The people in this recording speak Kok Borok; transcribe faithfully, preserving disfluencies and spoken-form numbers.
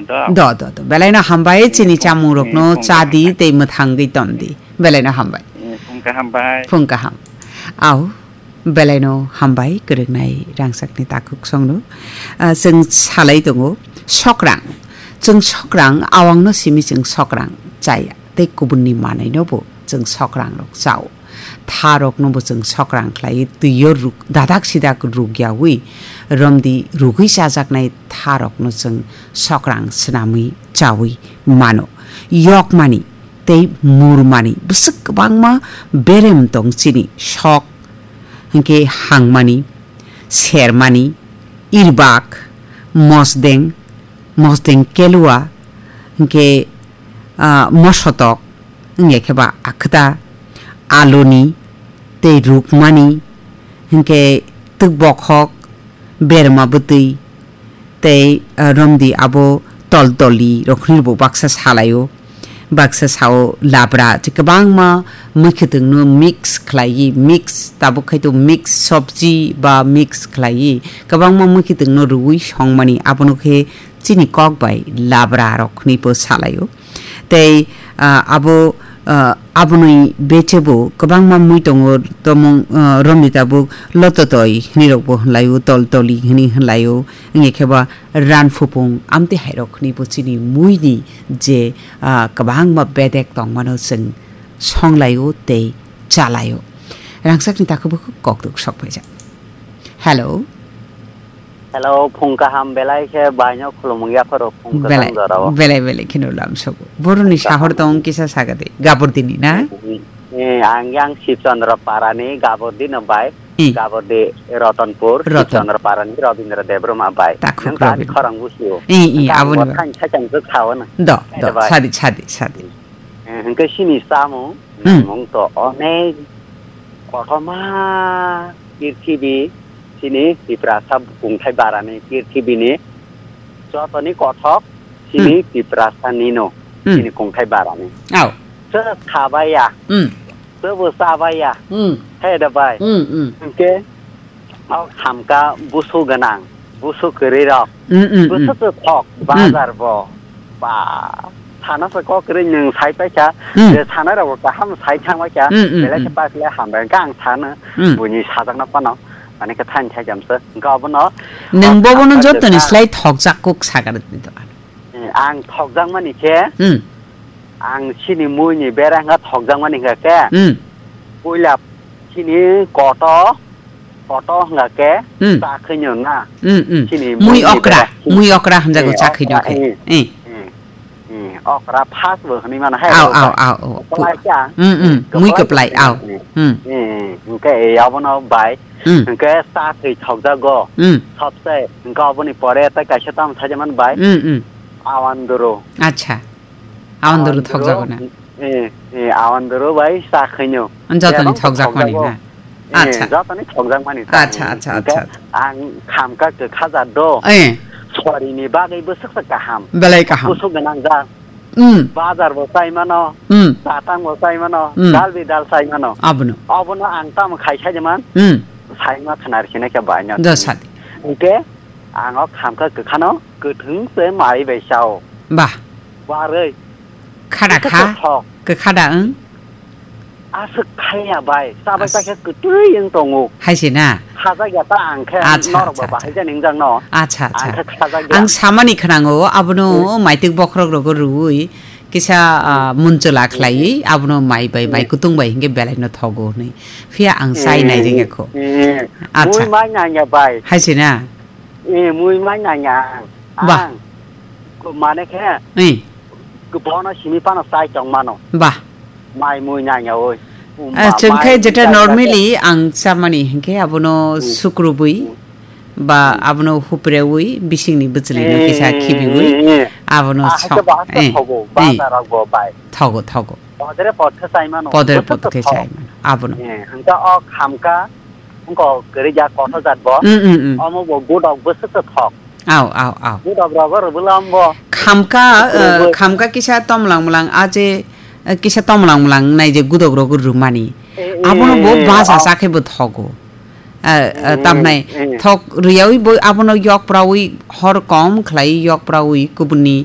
Do. Do, do, do. Belaino hambai, chini chamung rokno chadi tei mwthangwi tondi. Belaino hambai. Phung kaham bai. Phung kaham. Au, belaino hambai, kwrwngnai rangchakni takhuk songno. Ah, chwng salai tongo, sokrang. Chwng sokrang, awangno simi chwng sokrang chaya. Tei kubunni manwino bo chwng sokrang rok chao. Tha rokno bo chwng sokrang khlai, twiyo ruk-, dadak sidak rukyawi, romdi rugwi chajaknai tha rokno chwng sokrang swnamwi chawi mano. Yokmani tei murmani bwswk kwbangma berem tong chini, sok, hinkhe hangmani, sermani, irbak, mosdeng, mosdeng kelua, hinkhe, ah, mosotok, wngya khe ba akhwta, aluni, tei rukmani, hinkhe twk bokhok, berma bwtwi, tei, ah, romdi abo toltoli rok hwnwi bo baksa salaio, baksa sao labra, tei kwbangma mwkhwtwngno mix khlaiwi, mix tabuk khai to mix sobji ba mix khlaiwi, kwbangma mwkhwtwngno rwui songmani, abono khe chini kok bai labra rok hwnwi bo salaio. Tei, ah, abo, ah, aboni bechebo kwbangma mui tongo, tomung, ah, romni tabuk lototoi hwnwi rokbo hwnlaio, toltoli hwnwi hwnlaio, wngya khe ba ranphupung amtwi hairok hwnwi bo chini muini je, ah, kwbangma bedek tongmano chwng songlaio tei chalaio. Rangchakni takhuk bukhuk kokduk sokphaijak. Hello. Hello, phung kaham belai khe baino khulumung yapharo phung Belai, kwchang jorao. Belai, belai kheno lamsogo. Boroni Phung kaham. Sahor tong kisa sagadi. Gabor dini na? Eh, ang yang Sibchandra Parani Gabor dino bai. Eh. Gabor di Ratanpur, Ratan. Sibchandra Parani Rabindra Debbarma bai. Takhuk Nang tani Rabindra. Khorang busio. Eh, eh, Nang aboni aboni ba. Thang thang khe sao na. Do, Eh, do, bai. Sadi, sadi, sadi. Eh, hingke sini samung, Hmm. Mung to onek kothoma prithibi sini Tiprasa kungthai barani prithibini jotoni kothok sini Hmm. Tiprasa nino Hmm. sini kungthai barani. Au. Se khabaya, Hmm. se bo chabaya. Hmm. He da bai. Hmm, hmm. Hingke O khamka busu gwnang, busu kwrwi rok. Mm, mm, mm. Busu kwthok, Mm. Bazar bo. Ba, sana se kok kwrwi nwng sai paikha, Mm. Je sana rok kaham sai thang paikha, Mm, mm, Belai khe mm. Bakle hambai khe ang sana, Mm. Buini sajakno phano, ani khe thaini thai jamsa. Hwnkhe obono, Nwng o bobono khamka jotoni kwthang. Slai thokjak kuk sagar di to. Eh, ang thokjakmani khe, Hmm. Ang chini muini bera hwnka thokjakmani hwnka khe, Hmm. Puila chini koto, koto hwnka khe Hmm. Cha khwino na. Hmm, hmm. Chini Mui muini okra, bera. Mui okra hwnjago Eh, cha khwino okra, khe. Eh, Eh. eh, eh, okra first bo hwnwi mano hai Au, okra. Au, au, au. Kwplai kha. Hmm, hmm. Mui kwplai, kwplai, au. Eh, Hmm. eh, hwnkhe, eh, abono bai. Hmm. Hwnkhe cha khwi thokjago. Hmm. Sabse, hwnkhe aboni pore tei kaisa tamo sajamani bai. Hmm, hmm. Awanduru. Acha. Awanduru thokjago na. Eh, eh, awanduru bai cha khwino. Jotoni Ebang thokjakmani thokjago. Na. Eh, acha. Jotoni thokjakmani cha Acha, khwino. Acha, hwnkhe acha, acha. Ang khamka kwkha jat do. Eh. Sorini bagwi bwswk se kaham. Belai kaham. Bwswk gwnang jat. Hmm. Bazar bo chai mano, Hmm. Tatang bo chai mano, Hmm. Dal bi dal chai mano. Abono. Abono ang tamo khai sai man. Hmm. Sai ma khnar sine khe bai no. Do sadi. Hwnkhe ang o khamka kwkhano kwthwng se mai bai sao. Bah. Barwi. Khada kha. Kwthok. Kwkhada ang. Aswk khaiya bai, chabai As- ta khe kwtwi wng tongo. Hai se na? Khajak ya ta ang khe Acha, norok acha, ba bahai acha. Jani wng jak no. Acha, acha. Ang khe khajak ya. Ang samani khwnango, abono Hmm. Maitwk bokhorok rogo rwui, kisa, ah, Hmm. Munchwla khlaiwi, Hmm. Abono mai bai, mai Hmm. Kutung bai hinkhe belai no thogo hwnwi. Phiya ang chai Hmm. Nai jeng ya kho. Hmm. Acha. Mui mai nang ya bai. Hai se na? Eh, mui mai nang ya ang. Bah. Ang. Ko mane khe. Eh. Ko bono simi pano chai tong mano. Bah. Mai mui nang ya oi. Ah, chwng khe mai jeta chai normally ang chamani hinkhe abono Hmm. Sukrubwi Hmm. Ba Hmm. Abono huprewi bisingni bwchwlwino Eh, kisa khibiwi eh, eh. Abono Ah, sok. Hake ba hake Eh, thogo, eh. Bazar rok bo bai. Thogo, thogo. Podre pod khe chai mano. Podre pod khe chai mano. Abono. Eh, hwnkhe o khamka Wngkok kwrwi jak kothok jat bo. Mm, mm, mm. Omo bo gudok bwswk se thok. Au, au, au. Gudok rogo rwbwla ombo. Khamka, eh, rwbwi. Khamka kisa tomlang mlang a je, eh, kisa tomlang mlang nai je gudok rogo rwmani. Eh, eh, abono bo eh, baja oh. Sa khe bo thogo. Eh, eh, mm, tamnai mm. Thok rwyawi bo abono yok prawi hor kom khlai yok prawi kubuni